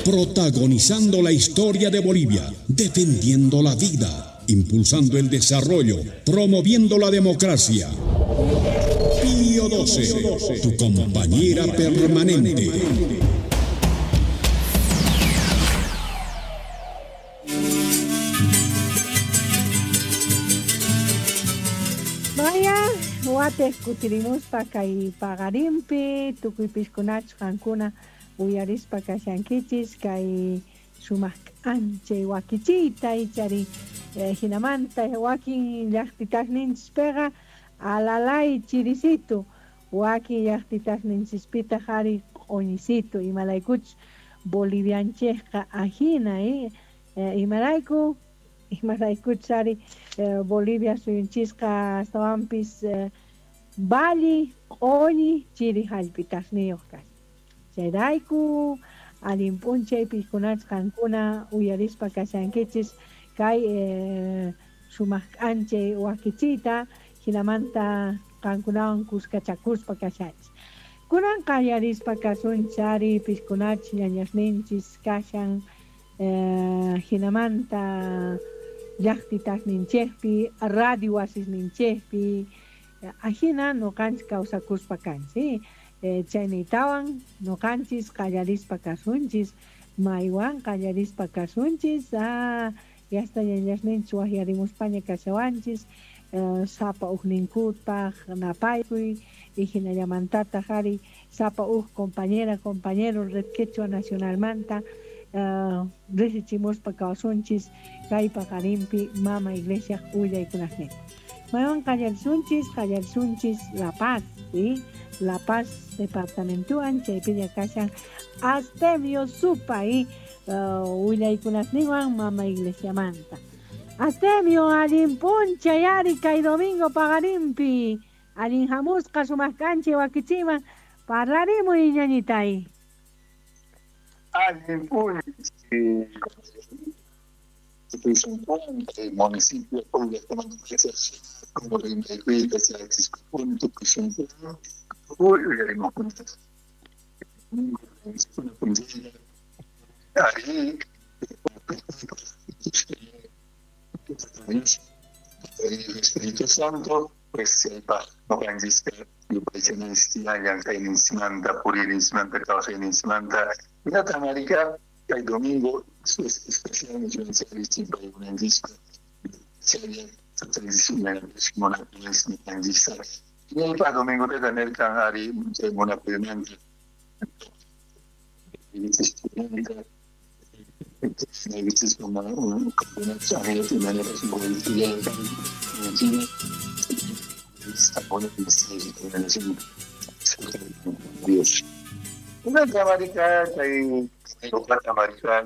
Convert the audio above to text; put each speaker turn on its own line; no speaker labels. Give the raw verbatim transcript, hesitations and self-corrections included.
Protagonizando la historia de Bolivia, defendiendo la vida, impulsando el desarrollo, promoviendo la democracia. Pío doce, tu compañera permanente.
Vaya, wateq kutirimuspa kay paqarinpi, tukuy piskunachus qankuna uyarispa kashankichis kay sumaq k'anchay wakichiyta ichari eh, hinamanta wakin llaqtitasninchispiqa alalay chirisitu, wakin llaqtitasninchispitaq ari q'uñisitu, imalaykuchus bolivianchikqa ajina eh, eh, imarayku imaraykuchus ari eh, Bolivia suyunchisqa astawanpis eh, valli q'uñi chiri hallp'itasniyuq kashan. Chayrayku allin p'unchay piskunachus qankuna uyarispa kashankichis kay eh, sumaq k'anchay wakichiyta hinamanta qankunawan kuskachakuspa kashanchis. Kunan qallarispa kasunchis ari piskunachus ñañasninchis kashan eh, hinamanta llaqtitasninchikpi radio wasisninchikpi ajina nuqanchis kawsakuspa kanchis. Eh, chayniytawan nuqanchis qallarispa kasunchis, maywan qallarispa kasunchis, ah, yasta ñañasninchis waqyarimuspaña kashawanchis, eh, sapa ujninkutpaq napaykuy y hinallamantataq ari sapa uj compañera compañero Red Quechua Nacionalmanta eh, riqsichimuspa kawsunchis kay paqarinpi Mama Iglesia willaykunasninta. Maywan qallarisunchis, qallarisunchis La Paz, ¿sí? La Paz departamentuan chaypiña kashan Astemio Supay uh, willaykunasninwan Mama Iglesiamanta. Astemio allin p'unchay ari kay domingo paqarinpi allin hamusqa sumaq k'anchay wakichiman parlarimuy ñañitay.
Allin p'unchay municipio como el Espíritu Santo, pues el domingo domingo de tener canari una camarita hay otra camarita